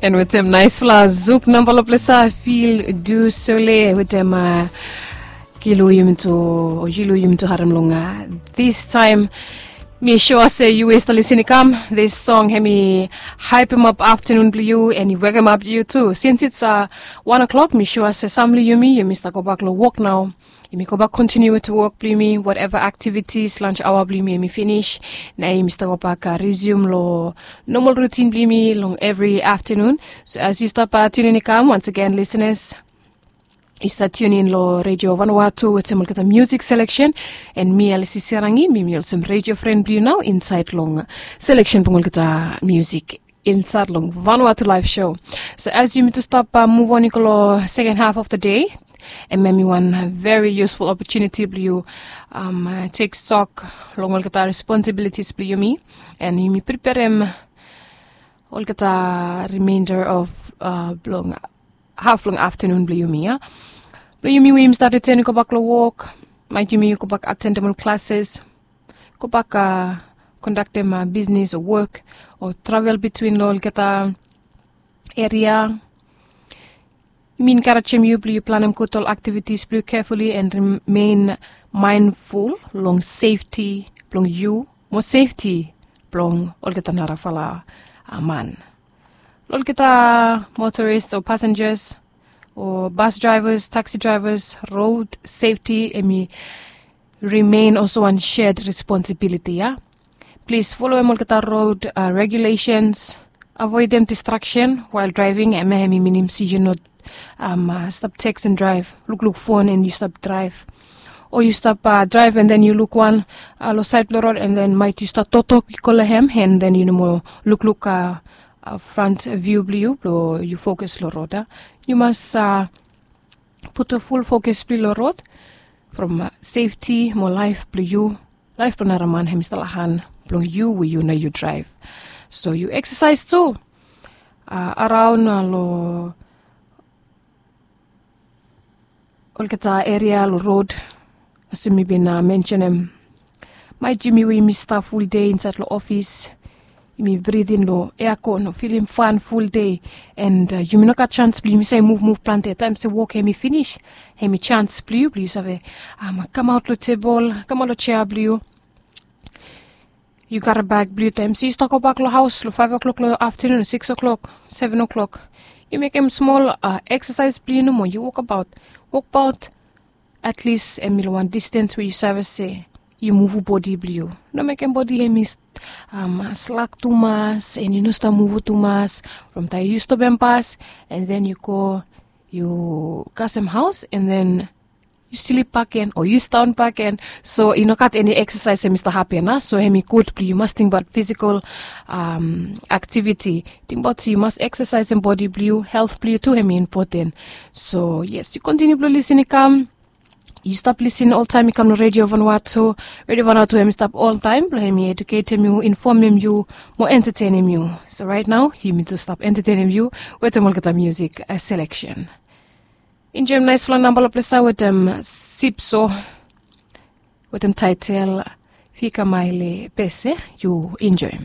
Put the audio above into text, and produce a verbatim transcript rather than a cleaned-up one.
And wetem naispela Zouk namba lo plesa, Fil Du Sole wetem, uh, Kilu Yumito, o Yilu Yumito harem long, uh, this time. Mi sure se yu we stap lisin i kam, this song hemi hype him up afternoon blo yu and i wake him up yu tu. Since it's, uh, one o'clock, mi sure se sam blo yumi, yumi stap go bak lo work now. Yumi go bak continue wetem work blo yumi, whatever activities, lunch hour blo yumi hemi finish. Na yumi stap go bak, uh, resume lo normal routine blo yumi long every afternoon. So as yu stap, uh, tune in i kam, once again, listeners, yu stap tune in lo Radio Vanuatu wetem olgeta music selection. And mi Alisi Serangi, mi mi olsem radio friend blo yu nao inside long selection blo olgeta music inside long Vanuatu Live Show. So as yumi tu stap, uh, move on i go lo second half of the day, and hemi wan very useful opportunity blo yu, um, uh, take stock long olgeta responsibilities blo yumi, and yumi preparem olgeta remainder of, uh, blong half blong afternoon blo yumi, ya. Blo yumi we yumi stap return i go bak lo work, maet yumi go bak attendem ol classes, go bak, uh, conductem, uh, business o work o travel between lo olgeta area. Yumi encouragem yu blo yu planem gud ol activities blo yu carefully and remain mindful long safety blong yu mo safety blong olgeta narafala, uh, man. Olgeta motorists o passengers o bus drivers, taxi drivers, road safety hemi remain also wan shared responsibility, ya. Plis folem olgeta road, uh, regulations, avoidem distraction while driving, hemia hemi minim se yu no, um, uh, stap texting, drive, lukluk phone and yu stap drive. O yu stap, uh, drive and then yu luk wan, uh, lo side blo road and then maet yu stap toktok i go lo hem and then yu no moa lukluk, uh, uh, front view blo yu blo yu focus lo road, a. Yu mas, uh, putum full focus blo yu lo road from, uh, safety mo life blo yu, life blo nara man hemi stap lo han blong yu we yu nao yu drive. So yu exercise tu, uh, around, uh, lo olgeta area lo road. Olsem mi bin, uh, mentionem, maet yumi we yumi stap full day inside lo office, yumi breathe in lo aircon o filim fan full day, and, uh, yumi no gat chance blo yumi save move move plante. Taem se work hemi finish, hemi chance blo yu blo yu save, um, kamaot lo table, kamaot lo chair blo yu. Yu karim bag blo yu, taem se yu stap go bak lo haos lo five o'clock lo afternoon, six o'clock, seven o'clock, yu mekem smol, uh, exercise blo yu nomo, yu wokabaot, wokabaot at least hemi lo wan distance we yu save se yu muvu bodi blo yu. No mekem bodi hemi, um, slak tumas and yu no stap muvu tumas. From taem yu stopem bas and then yu go, yu kasem haos and then yu slip bakegen o yu sidaon bakegen. So i no gat eni exercise hemi stap hapen, a. So hemi gud blo yu mas tingbaot physical, um, activity. Tingbaot se yu mas exercisem bodi blo yu, health blo yu tu hemi important. So yes, yu continue blo lisin i kam. Yu stap lisin oltaem i kam lo Radio Vanuatu. Radio Vanuatu hemi stap oltaem blo hemi educatem yu, informem yu mo entertainim yu. So right now yumi tu stap entertainim yu wetem olgeta music, uh, selection. Enjoyem naispela namba lo plesa wetem Sipso wetem title Fika Maile Pese. Yu enjoyem.